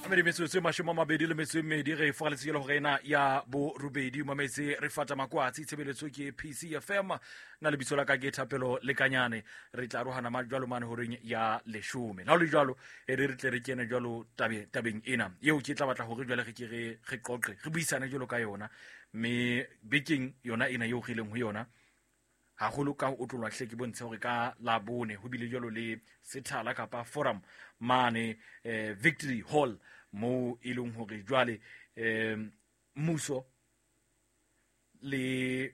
Mmedi metsotso e 22 re fogaletse jalo gore ena ya borobedi mametse re fata makwatsi. Tshebeletso ke PCFM, na lebitso la ka ke Thapelo Lekanyane. Re tla arohana ma jwalo mane horeng ya 10. La ho le jwalo, e re re tle re kene jwalo tabeng ena eo ke tla batla hore jwale re ke re qoqe, re buisane jwalo ka yona. Mme bekeng yona ena eo re leng ho yona, haholo ka ho otlolwa hle ke bontshe hore ka la bone ho bile jwalo le sethala kapa forum mane Victory Hall, moo e leng hore jwale mmuso le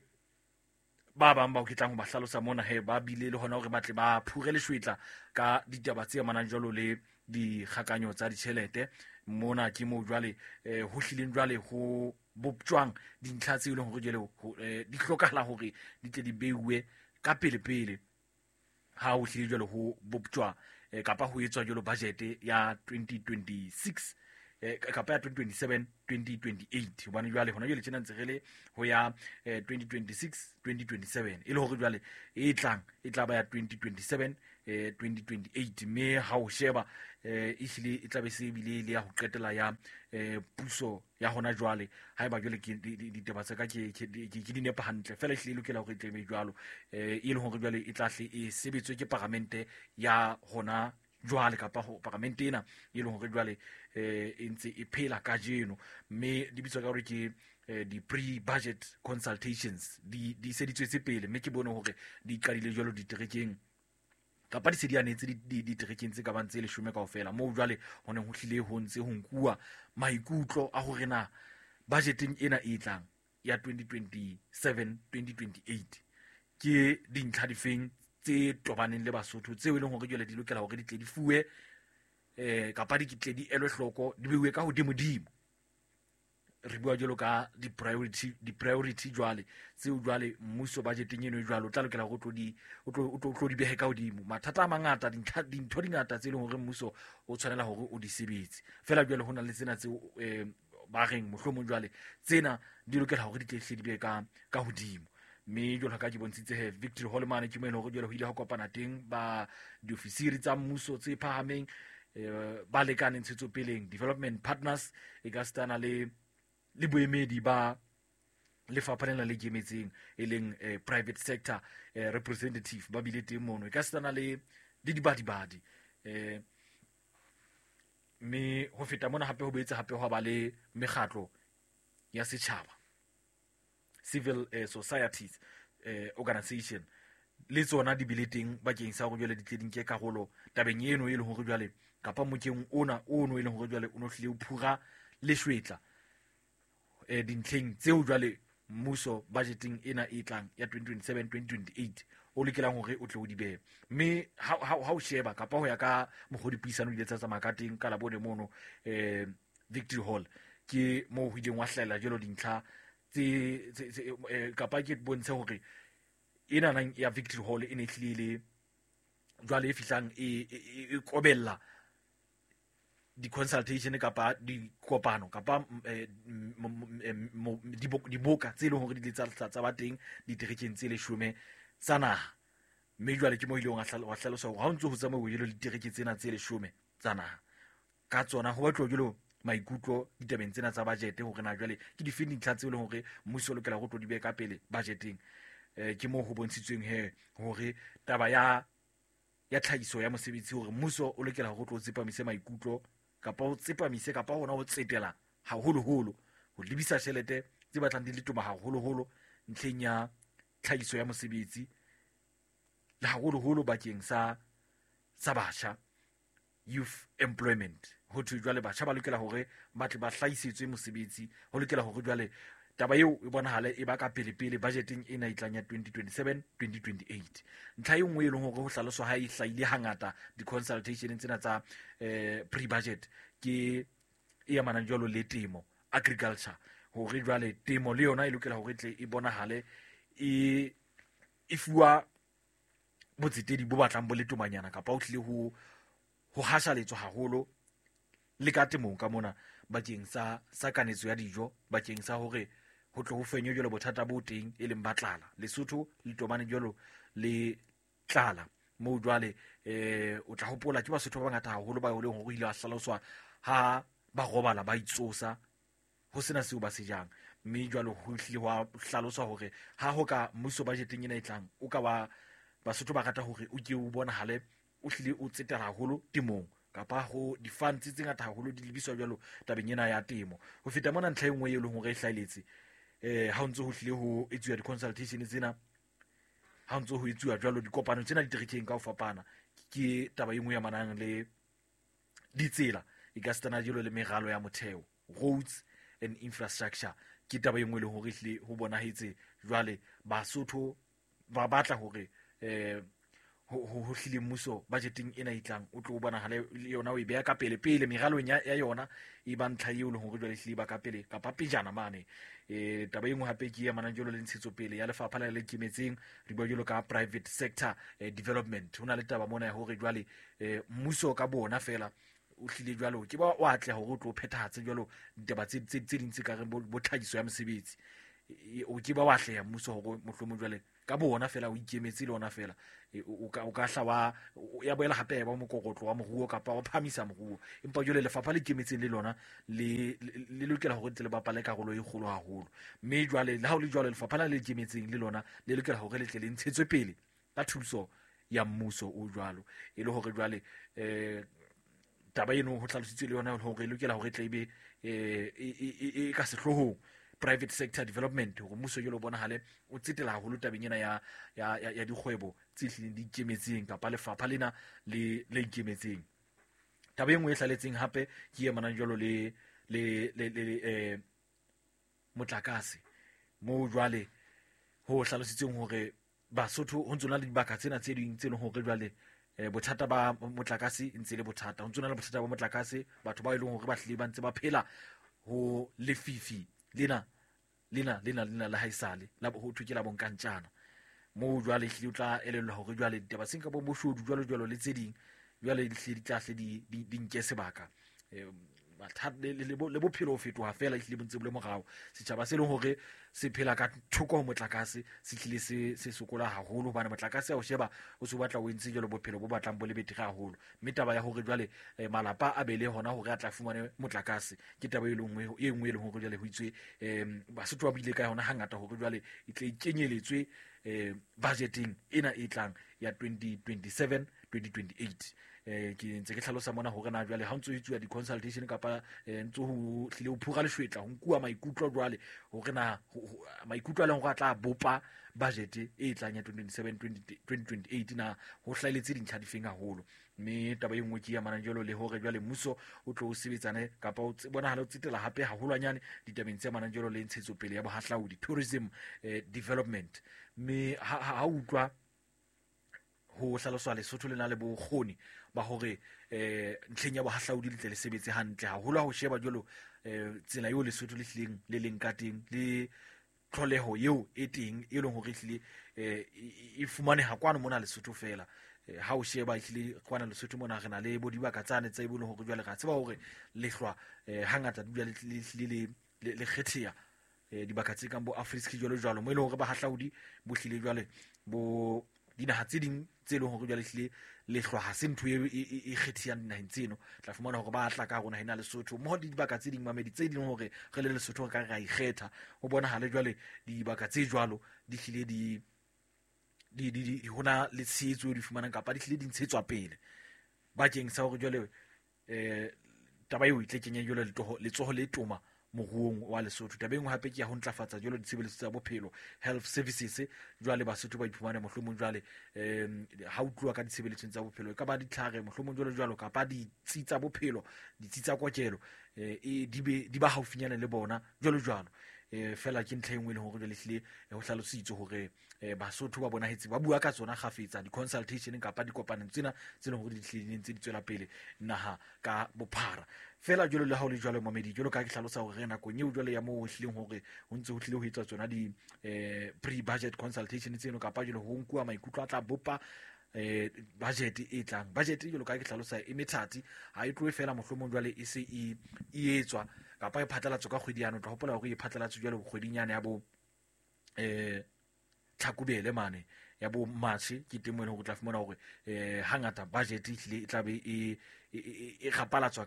ba bang bao ke tlang ho ba hlalosa mona he ba bile le hona hore ba tle ba phure leshwetla ka ditaba tse amanang jwalo le dikgakanyo tsa ditjhelete. Mona ke moo jwale ho hlileng jwale ho boptjwang dintlha tse e leng hore jwale di hlokahala hore di tle di beuwe ka pele-pele ha ho hlile jwale ho boptjwa kapa ho etswa jwalo budget ya 2026 kapa ya 2027 2028, hobane jwale hona jwale tjena ntse re le ho ya 2026 2027, e le hore jwale e tlang e tla ba ya 2027 2028. Mme ha o sheba ehlile e tla be se ebile le ya ho qetela ya puso ya hona jwale, haeba jwale ke ditaba tsa ka ke di nepa hantle fela, ehlile e lokela hore e tle be jwalo, e le hore jwale e tla hle e sebetswe ke paramente ya hona jwale kapa ho paramente ena e leng hore jwale e ntse e phela kajeno. Mme di bitswa ka hore ke di-pre-budget consultations, di se di tswetse pele, mme ke bone hore di qadile jwalo diterekeng kapa di se di anetse diterekeng tse ka bang tse 10 kaofela, moo jwale ho neng ho hlile ho ntse ho nkuwa maikutlo a hore na budgeteng ena e tlang ya 2027 2028 ke dintlha difeng tse tobaneng le Basotho tseo e leng hore jwale di lokela hore di tle di fuwe kapa di tle di elwe hloko, di beuwe ka hodimodimo. Re bua jwalo ka di-priority jwale tseo jwale mmuso budgeteng eno jwale o tla lokela hore o tlo di behe ka hodimo. Mathata a mangata, dintho di ngata tse leng hore mmuso o tshwanela hore o di sebetse. Feela jwale ho na le tsena tseo ba reng mohlomong jwale tsena di lokela hore di tle hle di be ka hodimo. Mme jwalo ka ke bontshitse he Victory Hall mane ke mo e leng hore jwale ho ile ha kopana teng ba diofisiri tsa mmuso tse phahameng, ba lekane ntshetsopeleng, development partners, e ka sitana le boemedi ba lefapha lena le ikemetseng e leng private sector representative ba bile teng mono, e ka sitana le dibadibadi. Mme ho feta mona hape ho boetse hape ho ba le mekgatlo ya setjhaba, civil societies organization, le tsona di bile teng bakeng sa hore jwale di tle di nke karolo tabeng eno e leng hore jwale kapa mokeng ona ono e leng hore jwale o no hlile o phura leshwetla dintlheng tseo jwale mmuso budgeteng ena e tlang ya 2027 2028 o lokelang hore o tle o di behe. Mme ha o sheba kapa ho ya ka mokgwa dipuisano di ile tsa tsamaya ka teng ka Labone mono Victory Hall, ke moo ho ileng wa hlahella jwalo dintlha tse kapa ke bontshe hore ena nang ya Victory Hall e ne e hlile le jwale e fihlang e kobella di-consultation kapa dikopano kapa diboka tse leng hore di ile tsa ba teng diterekeng tse 10 tsa naha. Mme jwale ke mo ileng wa hlalosa hore ha o ntso ho tsamauwe jwalo ditereke tsena tse 10 tsa naha, ka tsona ho batluwa jwalo maikutlo ditabeng tsena tsa budget hore na jwale ke dife dintlha tseo e leng hore mmuso o lokela ho tlo di behe ka pele budgeteng. Ke moo ho bontshitsweng he hore taba ya tlhahiso ya mosebetsi, hore mmuso o lokela hore o tlo tsepamise maikutlo kapa o tsepamise kapa hona ho tsetela haholoholo ho lebisa tjhelete tse batlang di le toma haholoholo ntlheng ya tlhahiso ya mosebetsi, le haholoholo bakeng sa batjha, youth employment. Ho thwe jwale batjha ba lokela hore ba tle ba hlahisetswe mosebetsi, ho lokela hore jwale taba eo e bonahale e ba ka pele-pele budgeteng ena e tlang ya 2027 2028. Ntlha e nngwe e leng hore ho hlaloswa ha e hlahile hangata di-consultation tsena tsa pre-budget ke e amanang jwalo le temo, agriculture, hore jwale temo le yona e lokela hore e tle e bonahale e fuwa botsetedi bo batlang bo le tomanyana kapa ho tlile ho hashaletswa haholo le ka temong ka mona bakeng sa kanetso ya dijo, bakeng sa hore ho tle ho fenywe jwalo bothata bo teng e leng ba tlala. Lesotho le tobane jwalo le tlala moo jwale o tla hopola ke Basotho ba bangata haholo ba e leng hore ile ba hlaloswa ha ba robala ba itsosa ho sena seo ba se jang. Mme jwale ho hlile hwa hlaloswa hore ha ho ka mmuso budgeteng ena e tlang o ka wa Basotho ba rata hore o ke o bonahale o hlile o tsetela haholo temong kapa ho di-funds tse ngata haholo di lebiswa jwalo tabeng ena ya temo. Ho feta mona, ntlha e nngwe e leng hore e hlahelletse ha o ntse ho hlile ho etsuwa di-consultation tsena, ha o ntse ho etsuwa jwalo dikopano tsena diterekeng ka ho fapana, ke taba e nngwe ya manang le ditsela e ka sitana jalo le meralo ya motheo, roads and infrastructure. Ke taba e nngwe e leng hore ehlile ho bonahetse jwale Basotho ba batla hore ho hlile mmuso budgeteng ena e tlang o tlo bonahale le yona o e beha ka pele pele meralong ya yona, e ba ntlha eo leng hore jwale ehlile ba ka pele kapa pejana mane. Taba e nngwe hape ke e amanang jwalo le ntshetsopele ya lefapha le le ikemetseng, re bua jwalo ka private sector development. Ho na le taba mona ya hore jwale mmuso ka bona fela o hlile jwalo ke ba o atleha hore o tlo phethahatse jwalo ditaba tse ding tse ka reng bo tlhahiso ya mosebetsi. O ke ba wa atleha mmuso hore mohlomong jwale ka bona fela o ikemetse le ona fela o ka hla wa ya boela hape ya ba mokokotlo wa moruo kapa wa phamisa moruo. Empa jwale lefapha le ikemetseng le lona le lokela hore tle le bapale karolo e kgolo haholo. Mme jwale le ha o le jwalo lefapha la le ikemetseng le lona le lokela hore le tle le ntshetswe pele ka thuso ya mmuso o jwalo, e le hore jwale taba eno ho hlalositswe le yona hore e lokela hore e tle ebe e ka sehloohong private sector development, hore mmuso jwale o bonahale o tsetela haholo tabeng ena ya dikgwebo tse hlileng di ikemetseng kapa lefapha lena le ikemetseng. Taba e nngwe e hlaletseng hape ke e amanang jwalo le motlakase, moo jwale ho hlalositsweng hore Basotho ho ntso na le dibaka tsena tse ding tse leng hore jwale bothata ba motlakase ntse le bothata, ho ntso na le bothata ba motlakase, batho ba e leng hore ba hlile ba ntse ba phela ho lefifi lena la haesale la ho thwe ke la bonkantjana, moo jwale hlile o tla elellwa hore jwale ditaba tse ka bo boshodu jwalo jwalo le tse ding jwale di hlile di tla hle di nke sebaka. Le bophelo ho fetoha fela ehlile bo ntse bo le morao. Setjhaba se leng hore se phela ka thoko ho motlakase se hlile se sokola haholo, hobane motlakase ha o sheba o se o batla o entse jwalo bophelo bo batlang bo le betere haholo. Mme taba ya hore jwale malapa a be le hona hore a tla fumane motlakase ke taba e nngwe e leng hore jwale ho itswe Basotho ba buile ka yona hangata hore jwale e tle e kenyeletswe budgeteng ena e tlang ya 2027 2028. Ke ntse ke hlalosa mona hore na jwale ha ntso etsuwa di-consultation kapa ntso ho hlile ho phura leshwetla ho nkuwa maikutlo jwale hore na maikutlo a leng hore a tla bopa budget e tlang ya 2027 2028 na ho hlahelletse dintlha difeng haholo. Mme taba e nngwe ke e amanang jwalo le hore jwale mmuso o tlo o sebetsane kapa o bonahala o tsetela hape haholwanyane ditabeng tse amanang jwalo le ntshetsopele ya bohahlaudi, tourism development. Mme ha utlwa ho hlaloswa Lesotho le na le bokgoni ba hore ntlheng ya bohahlaudi le tle le sebetse hantle haholo ha ho sheba jwalo tsela eo Lesotho le hlileng le leng ka teng le tlholeho eo e teng e leng hore ehlile e fumaneha kwano mona Lesotho fela. Ha o sheba ehlile kwana Lesotho mona re na le bo dibaka tsane tse e leng hore jwale re a tseba hore lehlwa hangata dula le hlile le kgetheha dibaka tse kang bo Afriski jwalo jwalo, mo e leng hore bahahlaudi bo hlile jwale bo dinaha tse ding tse leng hore jwale hlile lehlwa ha se ntho e kgethehang dinaheng tseno. Tla fumana hore ba tla ka rona ena Lesotho mmoho le dibaka tse ding mamedi tse ding hore re le Lesotho re ka re a ikgetha, ho bonahale jwale dibaka tse jwalo di hlile di hona le tshehetso eo di fumanang kapa di hlile di ntshetswa pele bakeng sa hore jwale taba eo e tle kenye jwale letsoho le toma moruong wa Lesotho. Taba e nngwe hape ke ya ho ntlafatsa jwalo ditshebeletso tsa bophelo, health services. Jwale Basotho ba iphumane mohlomong jwale ha o tluwa ka ditshebeletsong tsa bophelo, e ka ba ditlhare mohlomong jwalo jwalo kapa ditsi tsa bophelo, ditsi tsa kokelo di ba haufinyane le bona jwalo jwalo. Fela ke ntlha e nngwe e leng hore jwale ehlile ho hlalositswe hore Basotho ba bonahetse ba bua ka tsona kgafetsa di-consultation kapa dikopanong tsena tse leng hore di hlile ntse di tswela pele naha ka bophara. Fela jwalo le ha o le jwalo mamedi, jwalo ka ke hlalosa hore re nakong eo jwale ya moo ho hlileng hore ho ntse ho hlile ho etswa tsona di pre-budget consultation tseno kapa jwale ho nkuwa maikutlo a tla bopa budget e tlang. Budget jwalo ka ke hlalosa e methati, ha e tlohe fela mohlomong jwale e se e etswa kapa e phatlalatswe ka kgwedi yane. O tla hopola hore e phatlalatswe jwale kgweding yane ya bo Tlhakubele mane ya bo March, ke teng moo e leng hore o tla fumana hore hangata budget e hlile e tla be e e gapalatswa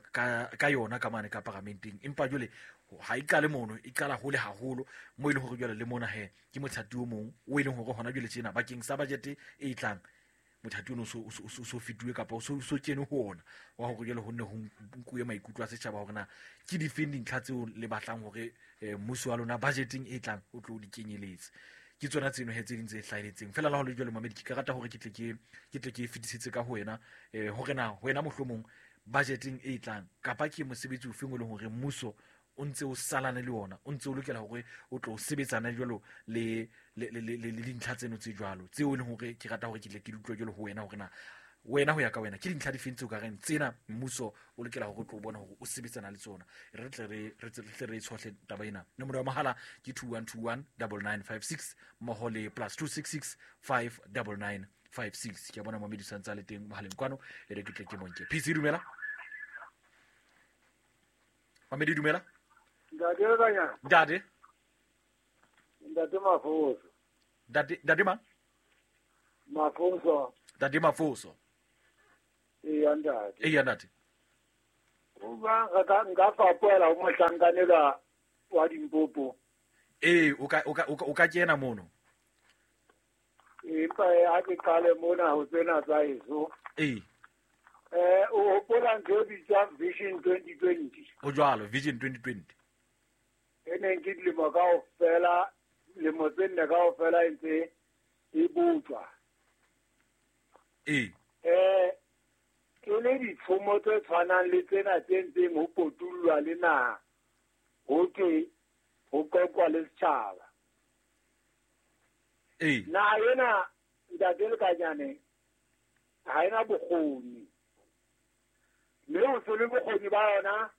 ka yona ka mane ka paramenteng. Empa jwale ha e qale mono, e qala hole haholo mo e leng hore jwale le mona he ke mothati o mong o e leng hore hona jwale tjena bakeng sa budget e tlang mothati ono so fetuwe kapa o so kene ho ona wa hore jwale ho nne ho nkuwe maikutlo a setjhaba hore na ke difeng dintlha tseo le batlang hore mmuso wa lona budgeteng e tlang o tlo di kenyeletse. Ke tsona tseno he tse ding tse hlahelletseng fela la ho le jwale mamedi ke ka rata hore ke tle ke fetisetse ka ho wena hore na wena mohlomong budgeteng e tlang kapa ke mosebetsi ofeng o leng hore mmuso o ntse o salane le ona, o ntse o lokela hore o tlo sebetsana jwalo le dintlha tseno tse jwalo tseo e leng hore ke rata hore ke tle ke di utlwe jwalo ho wena hore na wena ho ya ka wena ke dintlha difeng tseo ka reng tsena mmuso o lokela hore o tlo bona hore o sebetsana le tsona. Re tle re tshohle taba ena. Nomoro ya mohala ke 2121 9956 mmoho le +266 59956. Ke a bona mamedi sa ntse a le teng mohaleng kwano, e re ke tle ke monke. PC dumela. Mamedi dumela. Ntate Lekanyana. Ntate. Ntate Mafoso. Ntate mang? Mafoso. Ntate Mafoso. Eya ntate. Eya ntate. Uba nka fapoela ho mohlankanelwa wa Limpopo. Ee, o ka kena mono. Empa ha ke qale mona ho tsena tsa heso. Ee. O hopola ntho e bitswang Vision 2020. Ho jwalo, Vision 2020. E neng ke dilemo kaofela, lemo tse nne kaofela e ntse e botswa. Ee. Ke le ditshomo tse tshwanang le tsena tse ntseng ho potullwa le naha, ho thwe ho qoqwa le setjhaba. Ee. Naha ena ntate Lekanyane ha ena bokgoni. Mme ho se le bokgoni ba yona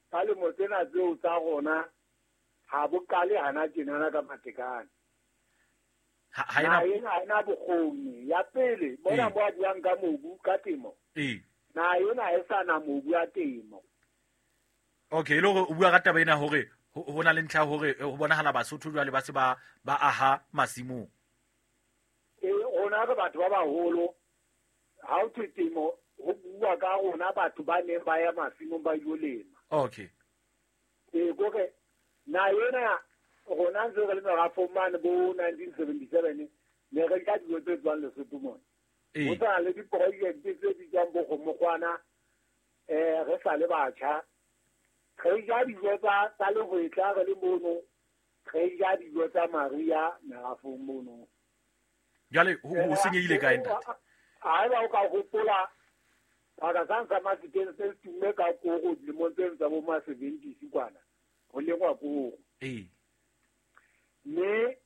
ka lemo tsena tseo tsa rona ha bo qale hana tjenana ka matekane. Ha ena bokgoni. Ya pele mona mo a buang ka mobu ka temo. Ee. Naha ena e sa na mobu ya temo. Okay, le hore o bua ka taba ena hore ho na le ntlha hore ho bonahala Basotho jwale ba se ba aha masimong. Ee, rona re batho ba baholo. Ha ho thwe temo ho bua ka rona batho ba neng ba ya masimong ba ilo lema. Okay. Ee, kore naha ena rona ntse re le merafong mane bo 1977 ne re ka dijo tse tswang Lesotho mona. Ho sa le diprojekte tse bitswang bo kgomokgwana, re sa le batjha. Re ja dijo tsa lehwetla re le mono, re ja dijo tsa mariha merafong mono. Jwale ho senyehile kae ntate? Haeba o ka hopola baka sang sa Mafikeng se tumme ka koro dilemong tseno tsa bo ma 70s kwana, ho lengwa koro. Ee. Mme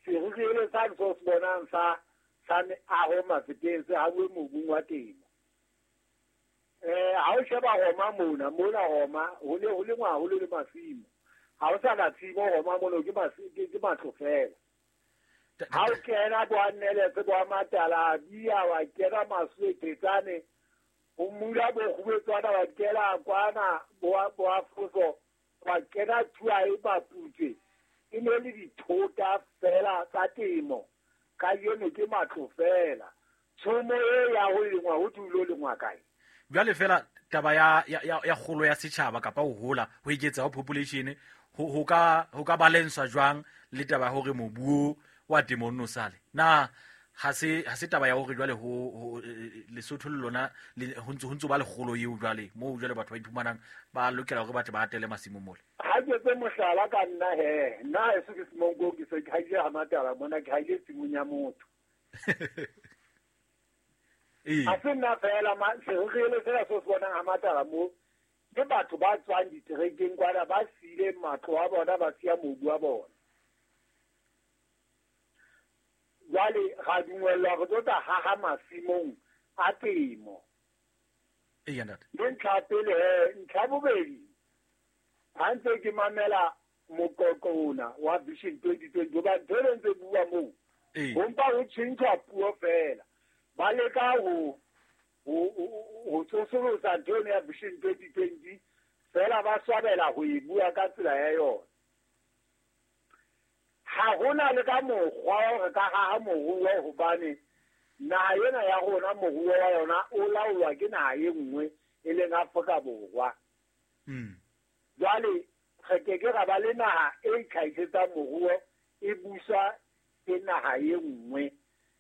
serurele sa so se bonang sa meaho Mafikeng se hauwe mobung wa temo. Ha o sheba Roma mona Roma ho ne ho lengwa haholo le masimo. Ha o sa na tshimo Roma mono ke matlo fela. Ha o kena bo Anneletse bo Matala bia wa kena Maswetetsane ho mula bo kgubetswana wa kena kwana bo Afoso wa kena Thuae Maputse. E ne le dithota fela tsa temo. Ka yeno ke matlo fela. Tshomo e ya ho lengwa ho tulo lengwa kae? Jwale fela taba ya kgolo ya setjhaba kapa ho hola ho eketsa ho population ho ka balance jwang le taba hore mobu wa temo no sale. Na ha se taba ya hore jwale ho Lesotho le lona ho ntse ba le kgolo eo jwale mo jwale batho ba iphumanang ba lokela hore ba tle ba atele masimo mole. Ha ke tse mohlala ka nna he nna e se ke semonko ke se ke haile ha Matala mona ke haile tshimong ya motho. Ee. Ha se nna fela serurele sena se bonang ha Matala mo ke batho ba tswang diterekeng kwana ba siile matlo a bona ba siya mobu wa bona. Jwale ra dumellwa re tlo tla haha masimong a temo. Eya ntate. Le ntlha pele he, ntlha bobedi ha ntse ke mamela moqoqo ona wa Vision 2020 hoba ntho e ntse bua moo ho mpa ho tjhentjhwa puo fela. Ba leka ho tsosolosa ntho ena ya Vision 2020 fela ba swabela ho e bua ka tsela ya yona. Ha hona le ka mokgwa re ka haha moruo hobane Naha ena ya rona moruo wa yona o laolwa ke naha e nngwe e leng Afrika Borwa. Jwale re ke ke ra ba le naha e itlhahisetsang moruo e buswa ke naha e nngwe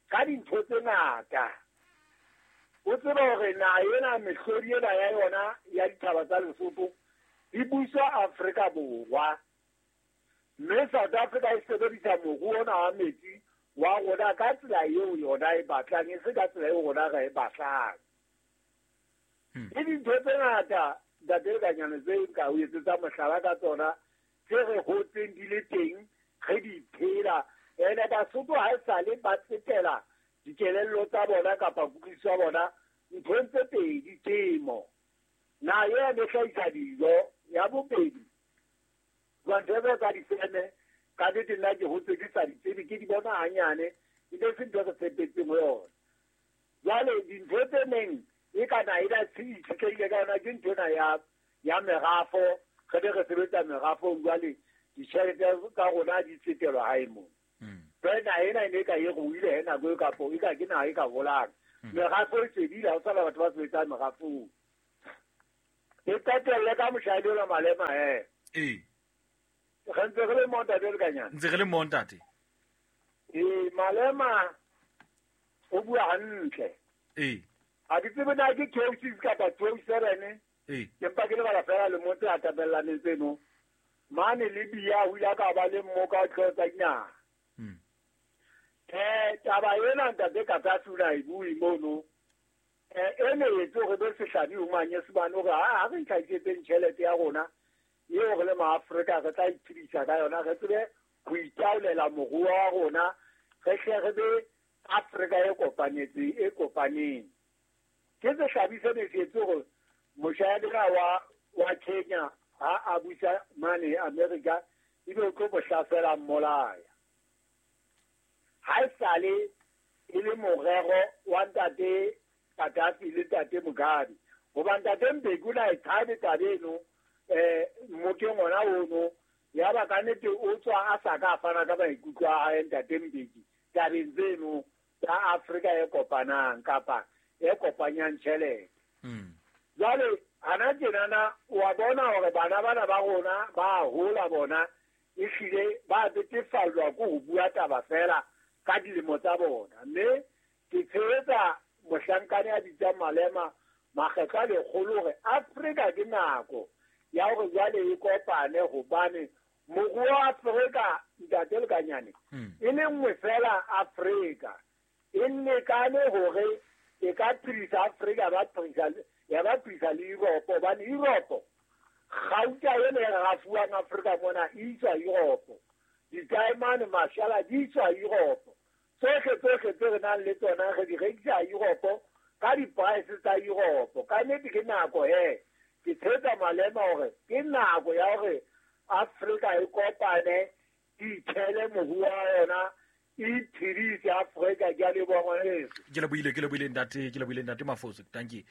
ka dintho tse ngata. O tsebe hore naha ena mehlodi ena ya yona ya dithaba tsa Lesotho e buswa Afrika Borwa. Mme South Africa e sebedisa moruo ona wa metsi wa rona ka tsela eo yona e batlang, e se ka tsela eo rona re e batlang. Ke dintho tse ngata ntate Lekanyane tse nka o etsetsa mohlala ka tsona tse re hotseng di le teng re di phela. Ene Basotho ha esale ba tsetela dikelello tsa bona kapa kutlwisiso ya bona nthong tse pedi, temo. Naha ena e hlahisa dijo. Ya bobedi, jwang tsa difeme ka nnete nna ke hotse ke sa di tsebe, ke di bona hanyane, e ne se ntho re tshepetseng ho yona. Jwale dintho tse neng e ka na ena itshetlehile ka yona ke ntho ena ya merafo. Re ne re sebetsa merafong, jwale ditjhelete tsa rona di tsetelwa hae mona. Jwale naha ena e ne e ka e ruile he nako e kapo e ka ke naha e ka holang. Merafo e fedile, ha ho sana batho ba sebetsang merafong. Ke qetelle ka moshadi ona Malema he. Ee. Re ntse re le mo ntate Lekanyane. Ntse re le mo ntate. Ee, Malema o bua hantle. Ee. Ha ke tsebe na ke 26 kapa 27. Ee. Ke mpa ke lebala fela le motse a tapellaneng tseno. Mane Libya ho ile ka ba le mmoka wa dihlooho tsa dinaha. Taba ena ntate Gaddafi o ne a e bue mono. E ne etse hore be sehlabi ho Manyesemane hore ha re itlhahisetseng tjhelete ya rona eo re le maAfrika re tla iphedisa ka yona, re tsebe ho itaolela moruo wa rona, re hle re be Afrika e kopanetseng e kopaneng. Ke sehlabi se ne se etse hore moshanyana wa Kenya ha a busa mane America ebe o tlo mo hlasela mmolaya. Ha esale e le morero wa ntate Gaddafi le ntate Mugabe. Hoba ntate Mbeki o ne a e tshabe taba eno, mmokeng ona ono, ya ba ka nnete o tswa a sa ka fana ka maikutlo a hae ntate Mbeki tabeng tseno tsa Afrika e kopanang kapa e kopanyang tjhelete. Jwale hana tjenana wa bona hore bana bana ba rona ba hola bona ehlile ba betefallwa ke ho bua taba fela ka dilemo tsa bona. Mme ke tshehetsa mohlankane a bitsang Malema makgetlo a lekgolo hore Afrika ke nako ya hore jwale e kopane, hobane moruo wa Afrika ntate Lekanyane e le nngwe fela Afrika e lekane hore e ka phedisa Afrika ya ba phedisa le Europe, hobane Europe kgauta ena e rafuwang Afrika mona e iswa Europe, ditaemane mashala di iswa Europe, tsohle tsohle tse re nang le tsona re di rekisa Europe ka di-price tsa Europe. Ka nnete ke nako he ke tshehetsa Malema hore ke nako ya hore Afrika e kopane e ithele moruo wa yona e iphedise Afrika. Ke a leboha ngwaneso. Ke lebohile ntate, ke lebohile ntate Mafoso. Thank you.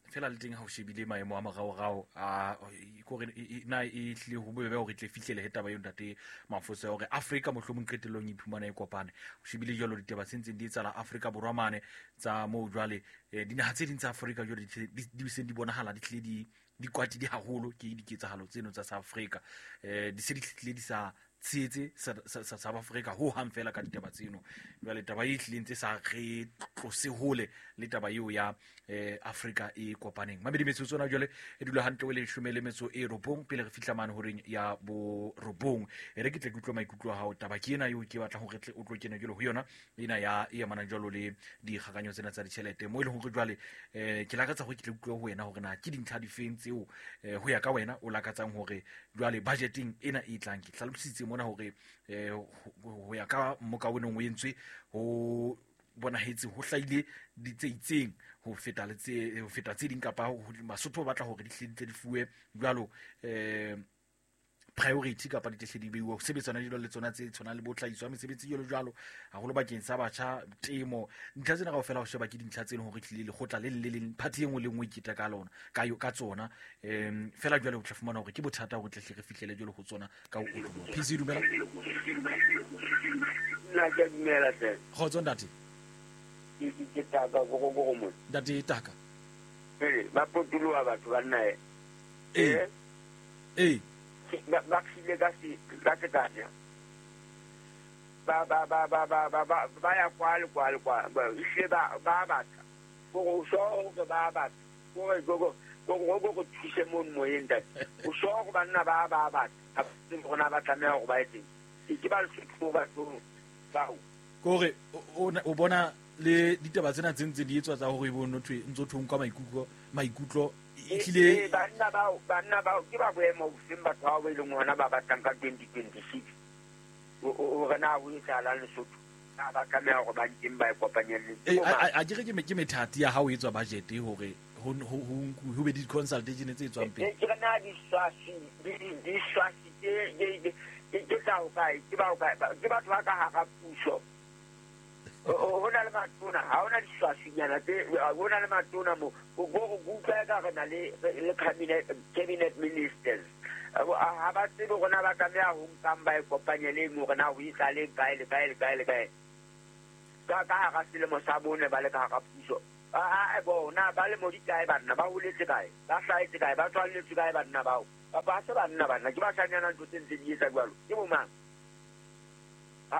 Fela le teng ha o shebile maemo a moraorao a kore na e hlile ho bobebe hore tle fihlele he taba eo ntate Mafoso ya hore Afrika mohlomong qetellong e iphumana e kopane. O shebile jwalo ditaba tse ntseng di etsahala Afrika Borwa mane tsa moo jwale, dinaha tse ding tsa Afrika jwale di seng di bonahala di hlile di kwatile haholo ke diketsahalo tseno tsa South Africa. Di se di hlile di sa tshehetse South Africa ho hang fela ka ditaba tseno. Jwale taba e hlileng tse sa re tlose hole le taba eo ya Afrika e kopaneng. Mamedi metsotso ona jwale e dula hantle o le 19 pele re fihla mane horeng ya 9. E re ke tle ke utlwe maikutlo a hao. Taba ke ena eo ke batlang hore tle o tlo kena jwale ho yona ena ya e amanang jwalo le dikgakanyo tsena tsa ditjhelete. Mo e leng hore jwale ke lakatsa hore ke tle utlwe ho wena hore na ke dintlha difeng tseo ho ya ka wena o lakatsang hore jwale budgeteng ena e tlang. Ke hlalositse mona hore ho ya ka mmoka o neng o entswe ho bonahetse ho hlahile di tse itseng ho feta le tse ho feta tse ding, kapa Basotho ba batla hore di hle di tle di fuwe jwalo priority kapa di tle di beiwe ho sebetsana jwalo le tsona tse tshwanang le bo tlhahiso ya mesebetsi jwalo jwalo, haholo bakeng sa batjha, temo. Ntlha tsena kaofela ho sheba ke dintlha tse leng hore tlile lekgotla le le leng party e nngwe le nngwe e iketa ka lona ka tsona. Fela jwale o tla fumana hore ke bothata hore tle hle re fihlele jwalo ho tsona ka ho otloloha. PC dumela. Nna ke dumela hle. Kgotso ntate. Ke taka go go mo. Ntate Taka. Ba potoloha batho ba nna. Eh. Ba khile ka se ka sekanya. Ba ba ba ba ba ba ba ba ya kwa le kwa le kwa. Ba ishe ba ba batla. Go so go ba batla. Go go go go go thuse mo moyeng ntate. O so go banna ba ba batla. Ha rona ba tlameha go ba etseng. Ke ba le ba bao. Kore o bona le ditaba tsena tse ntse di etswa tsa hore bo no thwe ntso thong kwa maikutlo ehlile banna bao ke ba boemo bofeng batho ba ba ileng hona ba batlang ka 2026 o rena o etsahalang Lesotho ba tlameha hore ba nteng ba e kopanyelle. A ke re ke methati ya hao etswa budget hore ho be di consultation tse etswang pele. Ke rena di swasi ke tsa ho kae ke ba ke batho ba ka hara puso. Ho na le matona ha hona diswasinyana tse ho na le matona mo go go utlwa ka re na le cabinet ministers ha ba tsebe rona ba tlameha ho nkang ba e kopanyeleng hore na ho etsahaleng kae le kae le kae le kae ka hara selemo sa bone ba le ka hara puso. A bona ba le mo dikae banna ba holetse kae ba hlahetse kae ba tswalletswe kae banna bao ba se banna banna ke ba shanyana ntho tse ntse di etsa jwalo ke bo mang? A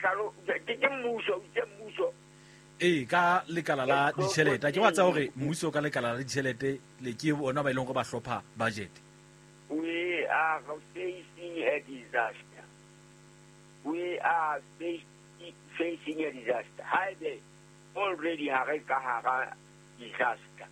hlalo ke mmuso ke mmuso. Ka lekala la ditjhelete ke wa tsa hore mmuso ka lekala la ditjhelete le ke bona ba ileng go ba hlopha budget. We are facing a disaster. We are facing a disaster. Haebe already ha re ka hara disaster.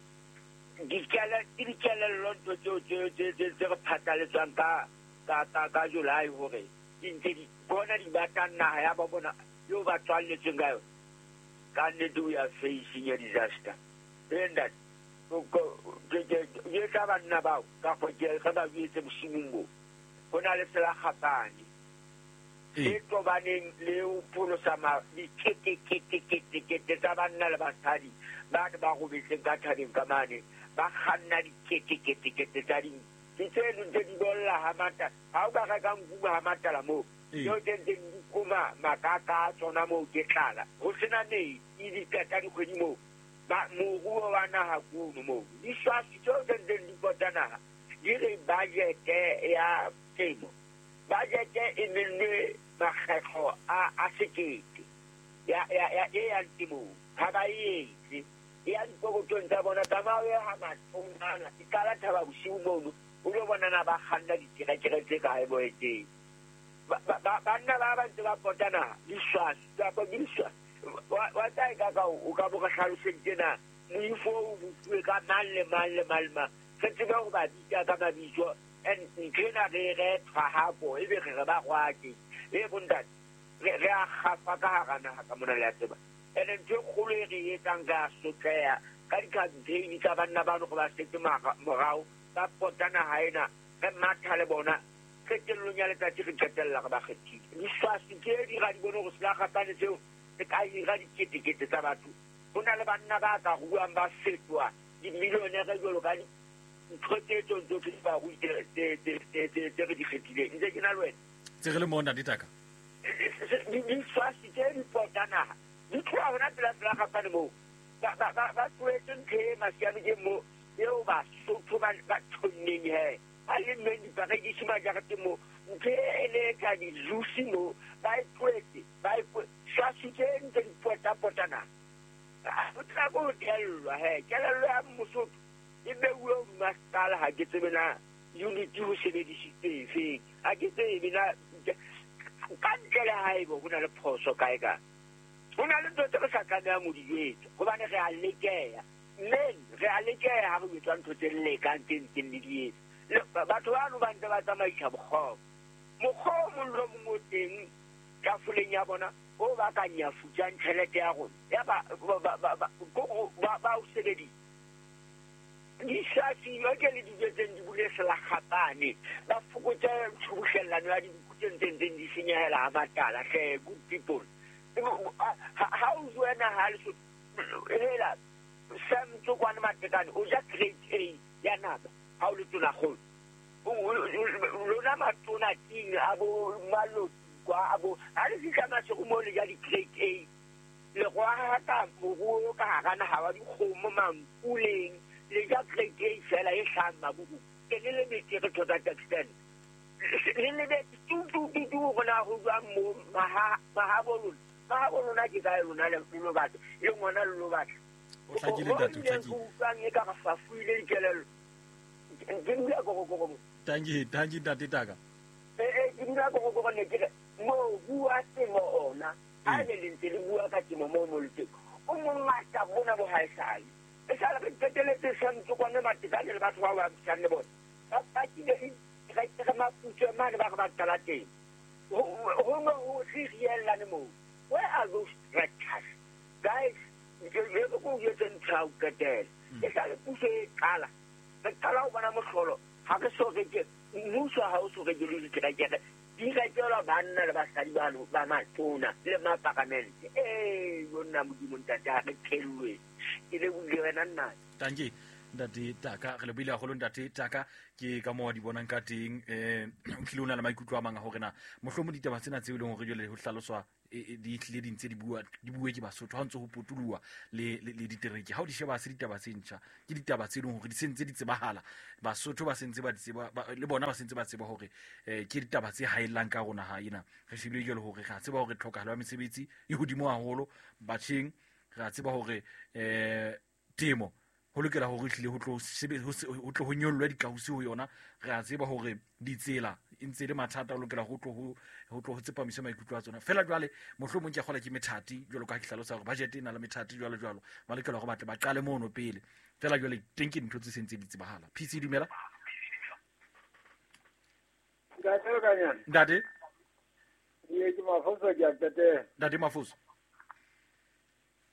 Dikelello ntho tseo tse re phatlaletswang ka July hore ntse di bona di batlang naha ya ba bona eo ba tswalletsweng ka yona. Ka nnete we are facing a disaster. And that ke tla banna bao ka go ke re ba buetse bosimong bo ho na le selakgapane e tobaneng le ho pholosa diketeketekete tsa banna le basadi ba ba robetseng ka thabeng ka mane ba kganna diketeketekete tsa di tse ntse di bolla ha mata ha o ka reka nku ha matala moo tseo tse ntse di kuma makaka a tsona moo ke tlala ho sena metsi di qeta dikgwedi moo ba moruo wa naha kuno moo diswasi tseo tse ntseng di pota naha di re budget ya temo budget e mennwe makgetho a sekete ya e yang temong ha ba e etse e ya dipokotong tsa bona tsamao e ha mathongana e qala thaba bosiu mono o lo bona na ba kganna diterekere tse kae bo etseng banna ba ba ntse ba pota naha diswasi kapa ke diswasi wa tsa e ka ka o ka bo ka hlaloseditse na moifo o bofuwe ka mang le mang le mang le mang re tsebe ho ba bitsa ka mabitso and nthwena re re tshwahapo ebe re re ba rwake e bontate re a kgafa ka hara naha ka mona le a tseba. And ntho e kgolo e re etsang re a sotleha ka di-campaign tsa banna bano go ba setse morao ba pota naha ena re matha le bona qetellong ya letsatsi re qetella re ba kgethile. Diswasi tse di ra di bone hore selakgapane seo se ka hira diketekete tsa batho. Ho na le banna ba ka ruang ba fetoha dimillionaire jwalo ka ntho tse tsong tsohle di ba ruile tse re di kgethileng. Ntse ke na le wena. Tse re le moo ntate Taka. Diswasi tse di pota naha di tloha hona pela selakgapane moo ba tlohetse ntho e masiame ke moo eo Basotho ba tjhonneng he ba lemmeng diparekisi majareteng moo ntho e le ka di-juice moo ba e tlohetse ba e swasi tse ntse di potapota naha. Ho tla ko tellwa he kelello ya Mosotho e beuwe hodima sekala ha ke tsebe na unity ho sebedisitswe efeng ha ke tsebe na ka ntle le haebe ho na le phoso kae kae. Ho na le ntho tse re sa tlamehang ho di etsa hobane re a lekeha mme re a lekeha ha re etswa ntho tse lekang tse ntseng le di etsa. Batho bano ba ntse ba tsamaisa mokgwa mokgwa o mong le o mong o teng tafoleng ya bona o ba ka nyafutsang tjhelete ya rona ya ba o sebedisa. Diswasi ke le dijo tse di bule selakgapane ba fokotse tshubuhlellano ya dinku tse ntseng di senyehela ha matala hle good people. Ha o jwe naha Lesotho hela Sam Tsokwane Matekane o ja grade A ya nama ha o le tonakgolo. Lona matona ting a bo maloti kwa a bo ha le fihla Maseru moo le ja di-grade A. Le rohaka moruo ka hara naha wa dikgomo mampuleng le ja grade A fela e hlahang mabuku. Ke le lebetse re to that extent. Le lebetse tu tu tu tu rona ho jwang mo mahabo lona. Mahabo lona ke kae lona le lo batla. Le ngwana le lo batla. O hlakile ntate, o hlakile. Utlwang e ka re fafuile dikelello. Ke dula korokoro mo. Tanki, tanki ntate Taka. Ke dula korokoro ne ke re mobu wa temo ona. Ha ne le ntse le bua ka temo moo mo le teng. O mongata bona bo haesale. E sale re qeteletse santse kwane Matekane le batho ba ba buisang le bona. Ba pakile re maputswe mane ba re ba qala teng. Ho no ho se riellane moo. Where are those tractors? Guys, ke re ko jwetse ntho ya ho qetela. E sale puso e qala. Re qala ho bona mohlolo. Ha re so reke mmuso ha o so reke le diterekere. Di rekelwa banna le basadi ba matona le maparamente. Yonna Modimo ntate ha re phellwe. Ke lebohile wena nna. Tanki ntate Taka, re lebohile haholo ntate Taka. Ke ka moo di bonang ka teng. O tlile o na le maikutlo a mang a hore na mohlomong ditaba tsena tseo e leng hore jwale ho hlaloswa di tlile di ntse di bua, di bue ke Basotho ha ntse ho potoloha le ditereke. Ha o di sheba se ditaba tse ntjha, ke ditaba tse leng hore di sentse di tsebahala. Basotho ba sentse ba di tseba, le bona ba sentse ba tseba hore ke ditaba tse haellang ka rona ha ena. Re shebile jwale hore re a tseba hore tlhokahalo ya mesebetsi e hodimo haholo batjheng. Re a tseba hore temo ho lokela hore hlile ho tlo ho tlo ho nyollwe dikausi ho yona. Re a tseba hore ditsela e ntse le mathata, ho lokela ho tlo ho tsepamiswe maikutlo a tsona. Fela jwale mohlomong ke a kgola ke methati jwalo ka ha ke hlalosa hore budget e na le methati jwalo jwalo. Ba lokela hore ba tle ba qale mono pele. Fela jwale teng ke dintho tse sentse di tsebahala. PC dumela. Ntate Kanyana. Ntate. Ke Mafoso ke a qetela. Ntate Mafoso.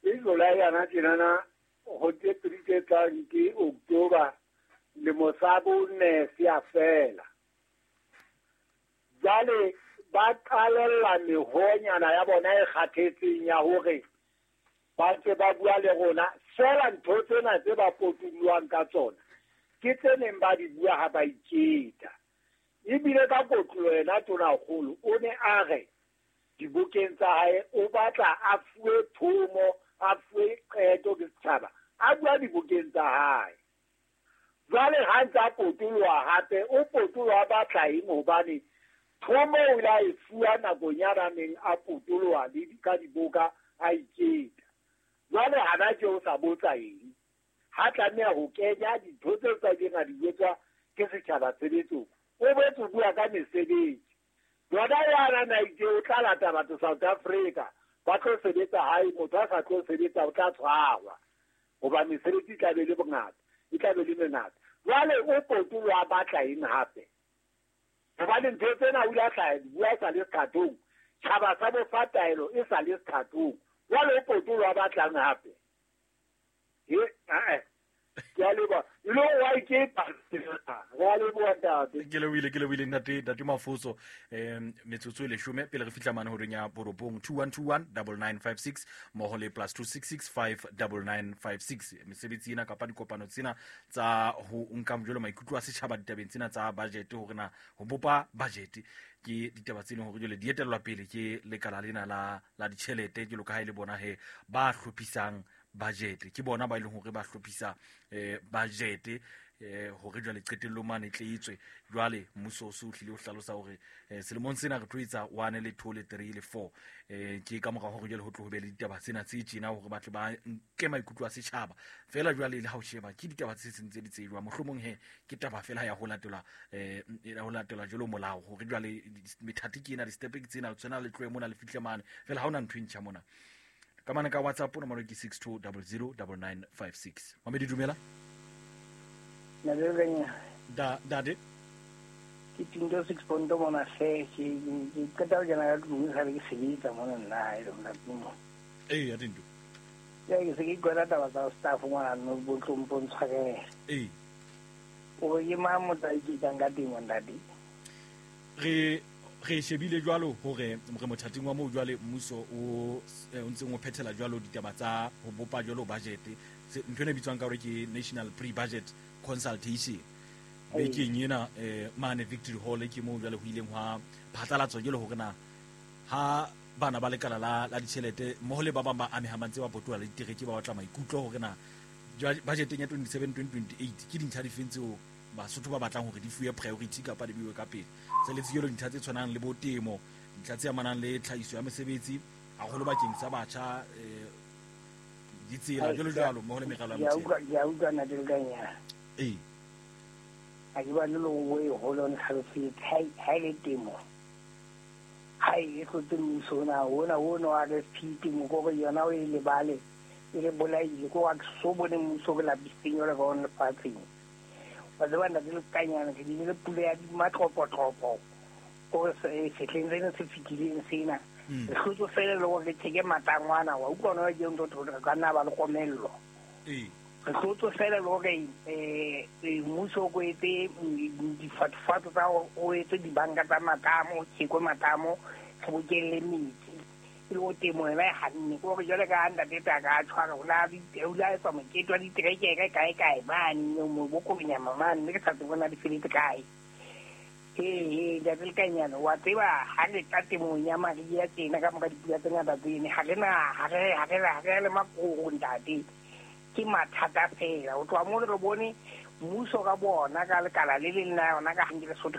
Ke July yana tjenana ho tse pedi tse tlang ke October lemo sa bone se a fela. Jwale ba qalella mehonyana ya bona e kgathetseng ya hore ba ntse ba bua le rona. Fela ntho tsena tse ba potulwang ka tsona ke tse neng ba di bua ha ba iketa. Ebile ka kotlo yena Tonakgolo o ne a re dibokeng tsa hae o batla a fuwe thomo, a fuwe qeto ke setjhaba, a bua dibokeng tsa hae. Jwale ha ntse a potoloha hape, o potoloha batla eng? Hobane thomo o ile a e fuwa nakong ya neng a potoloha le ka diboka a iketa. Jwale hana tje o sa botsa eng? Ha tlameha ho kenya dintho tseo tsa ileng a di jwetswa ke setjhaba tshebetsong. O boetse o bua ka mesebetsi. Yona yana na itse o tla lata batho South Africa ba tlo sebetsa hae, motho a sa tlo sebetsa o tla tshwarwa hoba mesebetsi e tla be le bongata, e tla be le mengata. Jwale o potoloha batla eng hape? Hobane ntho tsena o ile a tla bua e sa le sethathong, tjhaba sa mo fa taelo e sa le sethathong. Jwale o potoloha batlang hape? Ke a leboha. Lo wa iketa. Re a leboha ntate. Ke lebohile ntate Mafoso. Metsotso e leshome pele re fihla mane horeng ya borobong 2121 9956 mmoho le plus 266 59956. Mesebetsi ena kapa dikopano tsena tsa ho nka jwalo maikutlo a setjhaba ditabeng tsena tsa budget, hore na ho bopa budget ke ditaba tse leng hore jwale di etellwa pele ke lekala lena la ditjhelete, jwalo ka ha e le bona he ba hlophisang budget. Ke bona ba e leng hore ba hlophisa budget hore jwale qetellong mane tle etswe. Jwale mmuso o se o hlile o hlalosa hore selemong sena re tlo etsa 1 le 2 le 3 le 4. Ke ka mora hore jwale ho tlo ho be le ditaba tsena tse tjena hore ba tle ba nke maikutlo a setjhaba. Fela jwale le ha o sheba ke ditaba tse seng tse di tsejwa, mohlomong he ke taba fela ya ho latela ho latela jwalo molao hore jwale methati ke ena, di-step ke tsena, tsena le tlohe mona le fihle mane. Fela ha hona ntho e ntjha mona. Ka mane ka WhatsApp nomoro ke 62009956. Mamedi dumela. Dade. Ke Tinto 6 ponto mona hle, ke qeta ho kena ka tlung sa le ke sebetsa mona nna hae le mona tlung. Ya Tinto. Ya ke se ke kwela taba tsa staff mona no bo tlong tshwarela. O re ke mang motho a iketsang ka temo ntate? Re shebile jwalo hore re mothating wa moo jwale mmuso o ntseng o phethela jwalo ditaba tsa ho bopa jwalo budget. Ntho ena e bitswang ka hore ke National Pre-Budget Consultation. Bekeng ena mane Victory Hall ke moo jwale ho ileng hwa phatlalatswa jwalo hore na ha bana ba lekala la ditjhelete mmoho le ba bang ba amehang ba ntse ba potola le ditereke ba batla maikutlo hore na budgeteng ya 2027-2028 ke dintlha difeng tseo Basotho ba batlang hore di fuwe priority kapa di beiwe ka pele. Se le tsejelo dintlha tse tshwanang le bo temo, dintlha tse amanang le tlhahiso ya mesebetsi haholo bakeng sa batjha, ditsela jwalo jwalo mmoho le meralo ya motheo. Ke a utlwa ntate Lekanyana. Ee. Ha ke batle le ho e holo ntlhalosetse ha e le temo. Ha e hlotse mmuso ona ona wa RFP temo ko re yona o e lebale e re bolaile ko wa so bone mmuso re lapisitseng jwalo ka ona lefatsheng. Wa tseba ntate Lekanyana re bile le pula ya matlopotlopho ko sehleng sena se fetileng sena. Re hlotse fela le hore re theke matangwana wa utlwa ona ke ntho re ka nna ba le komello. Re hlotse fela le hore mmuso o etse difatsofatso tsa o etse dibanka tsa matamo, tjhekwe matamo, re bokelle metsi. E le ho temo yona e hanne. Ke hore jwale ka ntate Taka a tshwara o la etsa mokete wa diterekere kae kae mane mo Bokonyama mane mme ke sa tsebe na di feletse kae. Ee, ntate Lekanyana wa tseba ha re tla temong ya mariha tjena ka mora dipula tse ngata tsene ha re na ha re le makoro ntate. Ke mathata fela. Ho tloha moo re bone mmuso ka bona ka lekala le leng la yona ka hanke Lesotho.